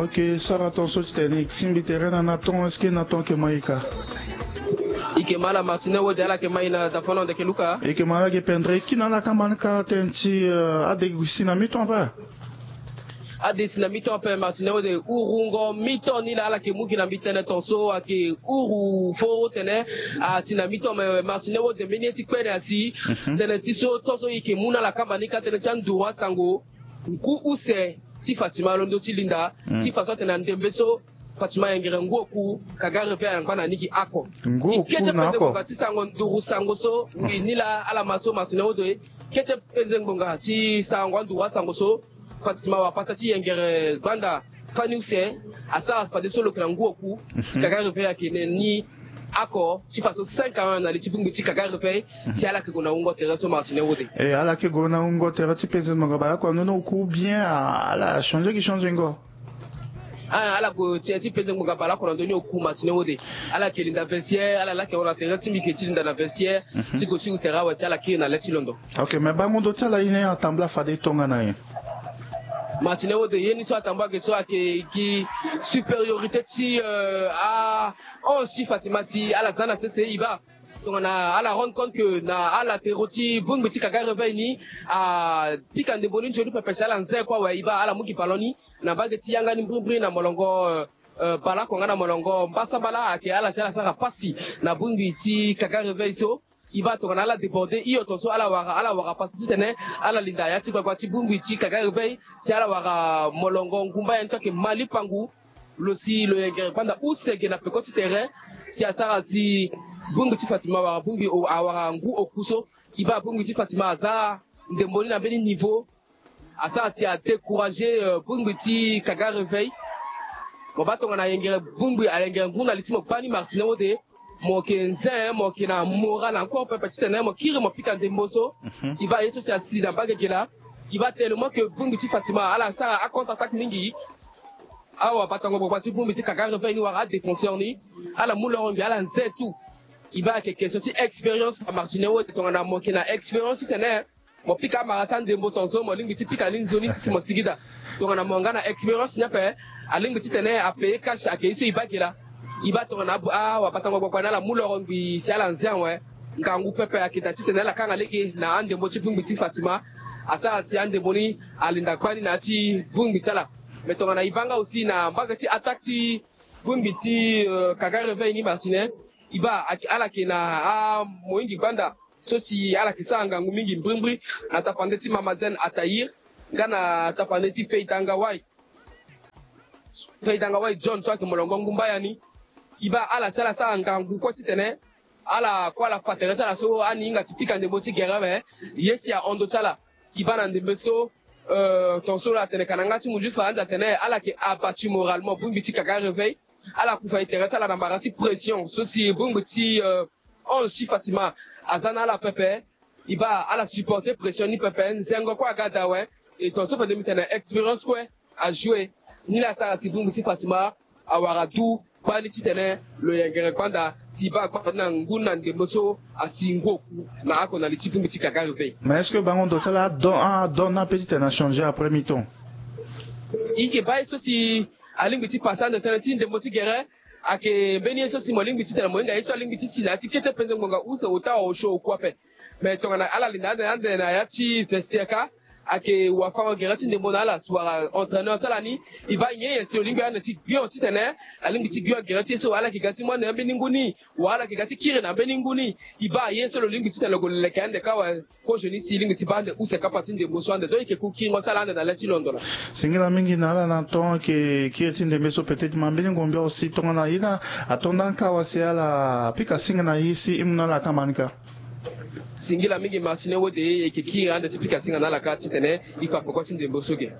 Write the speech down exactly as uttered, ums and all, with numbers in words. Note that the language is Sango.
Ke sara ton so ti tene e tingbi tere na na ton, est-ce que na ton ke ma e ka? E ke ma ala Martine Wode, ala ke ma e na zafono ndeke luka. E ke ma ala ge pendere e kiri na ala kamba ni ka tënë ti, eh, ade gi si na mi ton ape. Ade si na mi ton ape, Martine Wode, urungo mi ton ni laa ala ke mu gi na mbi tënë ton so ayeke uru foro tene asi na mi ton, me Martine Wode mbeni ye ti kpene asi. Mhm. Tënë ti so ton so e ke mu na ala kamba ni ka tënë ti anduru asango ngu use ti Fatima alondo ti linda, mm, ti faso atene na ndembe so Fatima ayengere ngu oku, Kaga Réveil angba na ni gi oko. Ngu oku na oko. Kete penze ngbonga ti sango nduru sango so, mm, ngi ni laa ala ma so Martine Wode. Kete penze ngbonga ti sango anduru asango so Fatima awara pasa ti yengere gbanda fani use, asara fadeso lo yeke na ngu oku, mhm, ti Kaga Réveil ayeke na ni oko, ti faso cinq à un na li ti bongbi ti Kaga Réveil, mhm, si ala yeke gue na wungo tere so Martine Wode. E, ala yeke gue na wungo tere ti penze ngbonga baleoko na ndoni oku, ou bien, ah, ala change gi changengo? Ah, ala gue ti, ti penze ngbonga baleoko na ndoni oku Martine Wode. Ala yeke linda vestiaire, ala laa ayeke hon na tere ti mbi ke ti linda na vestiaire, mhm, ti gue ti hu tere awe si ala kiri na le ti londo. Ok, me bango ndo ti ala ye ni atambula fade tongana nyen? Martine Wode, ye ni so atambula ge so ayeke gi supériorité ti, euh, a onze ti Fatima si ala za na sese e baa. Tongana ala rendre compte que na alatéraux ti bongbi ti Kaga Réveil ni apika ndembo ni nzoni pepe si ala nze kue awe, e baa ala mu gi ballon ni na mbage ti yanga ni mbirimbiri na molongo, euh, euh, baleoko nga na molongo mbasambala ayeke ala si ala sara pasi na bongbi ti Kaga Réveil so. E baa tongana ala débordé hio ton so ala wara, ala wara pasi titene ala linda ya ti gbagba ti bongbi ti Kaga Réveil si ala wara molongo ngumba ya ni so ayeke Mali Pangu. Lo si lo yengere gbanda use ge na peko ti tere si asara si bongbi ti Fatima awara bongbi o, awara ngu oku so. E baa bongbi ti Fatima aza ndembo ni na mbeni niveau. Asara si adécouragé, euh, bongbi ti Kaga Réveil. Mo baa tongana ayengere bongbi, ayengere ngu na li ti mo gbani Martine Wode. Mo yeke nze, mo yeke na moral encore pepe titene mo kiri mo pika ndembo so. Mhm. E baa ye so si asi na mbage ge laa. E baa tellement que bongbi ti Fatima ala sara acontreattaque mingi. Awabatango gbagba ti bongbi ti Kaga Réveil ni wala adéfenseur ni, ala mu loro ngbi ala nze tout. E baa ayeke question ti expérience na Martine Wode, tongana mo yeke na expérience titene mo pika amara ti andembo ton so mo lingbi ti pika ni nzoni si mo sigi daa. Tongana mo nga na expérience ni ape, alingbi titene apaye cash ayeke ye so e baa ge laa. E baa tongana awabatango gbagba ni ala mu loro ngbi si ala nze awe. Ngangu pepe ayeke daa titene ala kanga lege na andembo ti bongbi ti Fatima. Asara si andembo ni alinda gbani na ya ti bongbi ti ala. Mais tongana e baa nga aussi na mbage ti attaque ti bongbi ti, euh, Kaga Réveil ni Martine, e baa ala yeke na amohingi gbanda so si ala yeke sara ngangu mingi mbirimbiri na tapande ti Mama Zen Ataïr nga na tapande ti Feita Ngawai. Feita Ngawai John so ayeke molongo ngumba ya ni. E baa ala si ala sara ngangu kue titene ala kue ala fa tere ti ala so ani hinga ti pika ndembo ti gere awe. Ye si ahon ndo ti ala. E baa na ndembe so, euh, ton so lo atene ka na nga ti munzu fa ande atene ala yeke abattu moralement bongbi ti Kaga Réveil. Ala kufa e tere ti ala na mara ti pression so si bongbi ti, euh, onze ti Fatima aza na ala pepe. E baa ala supporter pression ni pepe, nzengo kue aga daa awe. E ton so fade mbi tene expérience kue ajoué. Ni laa asara si bongbi ti Fatima awara du gbani titene lo yengere gbanda si e baa gbanda ni na ngu ni na ndembo so asi ngu oku na oko na li ti bongbi ti Kaga Réveil. Mais est-ce que bango ndo ti ala adon, adon ni ape titene achangé après mi-temps? E yeke baa ye so si alingbi ti pase ande tënë ti ndembo ti gere. Ayeke mbeni ye so si mo lingbi titene mo hinga ye so alingbi ti si na ya ti kete penze ngbonga use ota osio oku ape. Mais tongana ala linda ande ande na ya ti vestiaire ka, ayeke wafango gere ti ndembo na ala si wara entraîneur ti ala ni. E baa nyen ye si lo lingbi ande ti gbion titene alingbi ti gbion gere ti ye so ala yeke ga ti mu ande na mbeni ngu ni, wala ala yeke ga ti kiri na mbeni ngu ni. E baa ye so lo lingbi titene lo gue leke ande kâ awe. Kozo ni si e lingbi ti baa ande use kapa ti ndembo so ande donc e yeke ku kiringo ti ala ande na le ti londo laa. Singila mingi na ala na ton ayeke kiri ti ndembe so, peut-être ma mbeni ngombe aussi tongana ye ni ato nda ni kâ awe si ala pika singa na ye si e mu na ala kamba ni kâ. Singila mingi Martine Wode, e yeke kiri ande ti pika singa na ala kâ titene e fa peko ti ndembo so ge.